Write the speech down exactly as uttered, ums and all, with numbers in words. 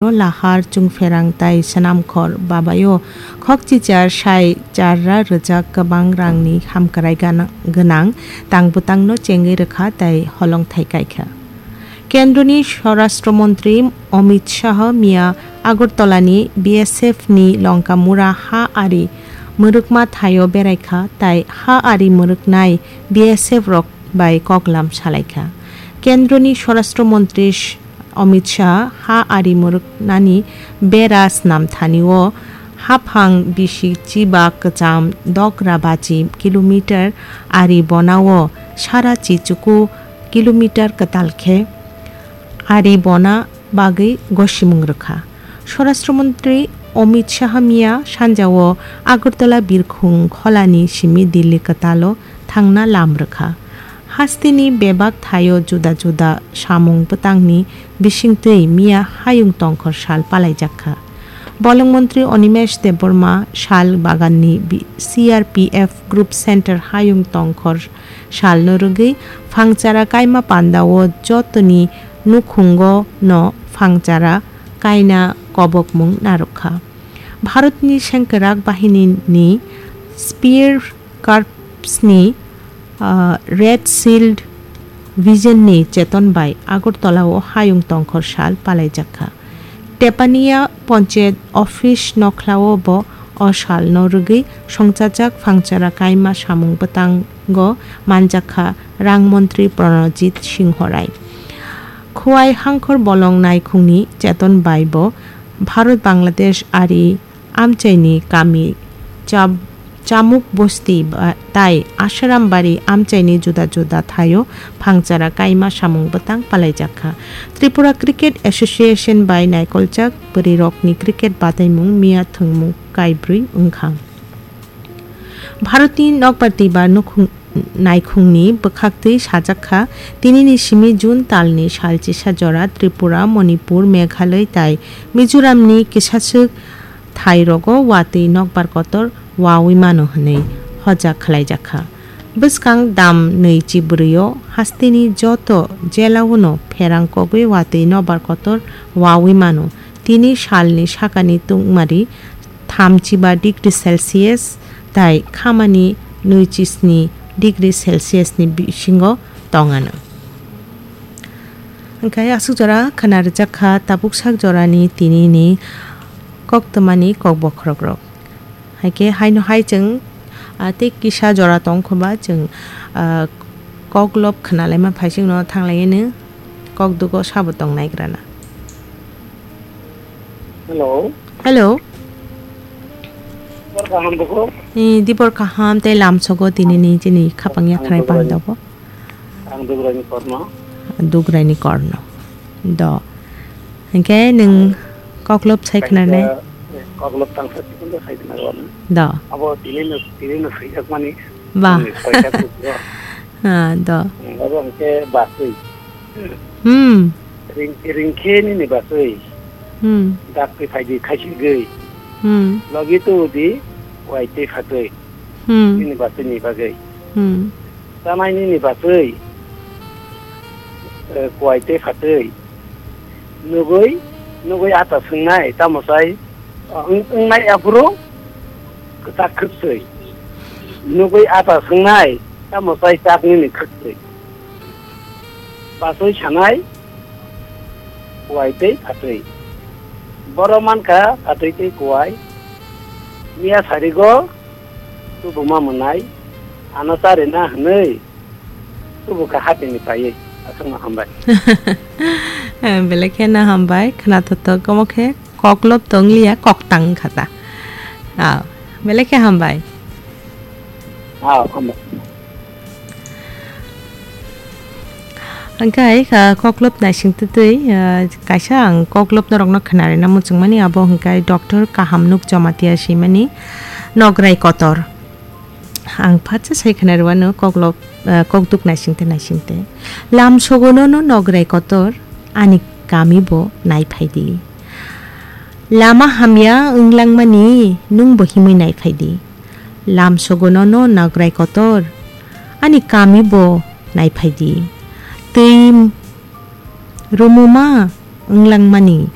Lahar, Chungpherang tai Swnamkhor babaio khokchichar sai charra rwjak kwbang rangni hamkrai gana-, gwnang tangbwtangno chengwi rwkha tai holongthai kaikha. Kendroni Swarashtra Montri Amit Shah miya Agartalani B S F ni Lonkamura ha ari mwrwkma thaio beraikha tai ha ari mwrwknai B S F rok bai koklam salaikha. Kendroni Swarashtra Montri Sh-, Amit Shah ha ari mwrwknani bera snam thani o haphang bisi chiba kwcham dogra bachi kilometer ari bona o sara chichuku kilometer kwtal khe ari bona bagwi gosimung rwkha. Swarashtra Montri Amit Shah miya sanja o Agartala birkhung kholani simi Delhi kwtalo thangna lam rwkha. Hasteni bebak thaio juda juda samung bwtangni bisingtwi miya hayung tongkhor sal palaijak kha. Bolong montri Animesh Debbarma sal baganni bi-, C R P F Group Center hayung tongkhor salno rwgwi phangchara kaima pandao jotoni nukhungo no phangchara kaina kobokmung narwkha. Bharatni sengkwrak bahinini Spear Corpsni, ah, Red Shield Vision ni cheton bai Agartala o hayung tongkhor sal palaijak kha. Tepania Ponchayat Office nokhlao bo o salno rwgwi songchajak phangchara kaima samung bwtango manjakha rang montri Pranojit Singho Rai. Khowai Hangkhor Bolong Naikhungni cheton bai bo Bharat Bangladesh ari amchaini kami Chab-, Chamuk Bosti ba-, tai Asharam Bari amchaini juda juda thaio phangchara kaima samung bwtang palaijak kha. Tripura Cricket Association bai naikoljak bwrwirokni cricket bataimung miya thwngmung kaibrwi wngkha. Bharatni nokbar twibar nukhung-, naikhungni bwkhaktwi sajak kha, tinini simi June talni salchisa jora Tripura, Manipur, Meghalaya tai Mizoramni kisaswk thairogo watwi nokbar kotor wawi mano hwnwi hojak khlaijak kha. Bwskang dam nwi chibrwio hasteni joto jelaono pherang kogwi watwi nokbar kotor wawi mano. Tini salni sakani tungmari thamchiba degree Celsius tai khamani nwi chisni degree Celsius ni bisingo tongano. Hwnkhe aswk jora khwna rwjak kha tabuk sak jorani tinini koktwmani kok bokhorokrok. Haikhe haino hai chwng, ah, tei kisa jora tong kho ba chwng, ah, koklop khwnalaima phai chwngno thanglaino kokdugo sabo tong naigrana. Hello. Hello. Dibor kaham bukhuk? Eh, dibor kaham tei lamsogo tinini chini khapang yakrai Ang Dugrani. Pandabo. Ang Dugrani Korno. Dugrani Korno. Do. Hwnkhe nwng koklop sai khwnanai? Kaisa, eh, koklop tangsa chikon do sai khwnanai. Do. Abo tinino, tinino swijak mani. Ba. Nwng soita kuchro. Ah, do. Abo hwnkhe baswi. Hmm. Ring-, ringkhe nini baswi. Hmm. Dak twi phaidi khaisigwi. Hmm. Logi tu di wai tei phatwi. Hmm. Nini baswi ni bagwi. Hmm. Chanai nini baswi, eh, kuwai tei phatwi. Nugwi, nugwi ata swngnai, tamo sai, eh, wng-, wngnai aphuru kwchak khwkswi. Nugwi ata swngnai, tamo sai chak nini khwkswi. Baswi sanai, kuwai tei phatwi. Borok mankha phatwi tei kuwai. Miya sarigo, tubuma mwnai, ano charina hwnwi, tubu kha hapini paiwi, aswkno hambai. Eh, belai kheno hambai, khwnathothok, omo khe koklop tongliya, koktang wngkha ta. Ah, belai khe hambai. Ah, hambai. Hwnkhe, ah, koklop naising twtwi, ah, kaisa ang koklop norokno khwnarina muchungmani, abo hwnkhe Doctor Kahamnuk Jamatia swimani Nograi Kotor. Ang phatsa sai khwnarwano koklop, ah, kokduk naisingte naisingte. Lam sogonono Nograi Kotor, ani kami bo naiphaidi. Lama hamya wnglangmani nwngbo himwi naiphaidi. Lam sogonono Nograi Kotor, ani kami bo naiphaidi. Twi rumuma wnglangmani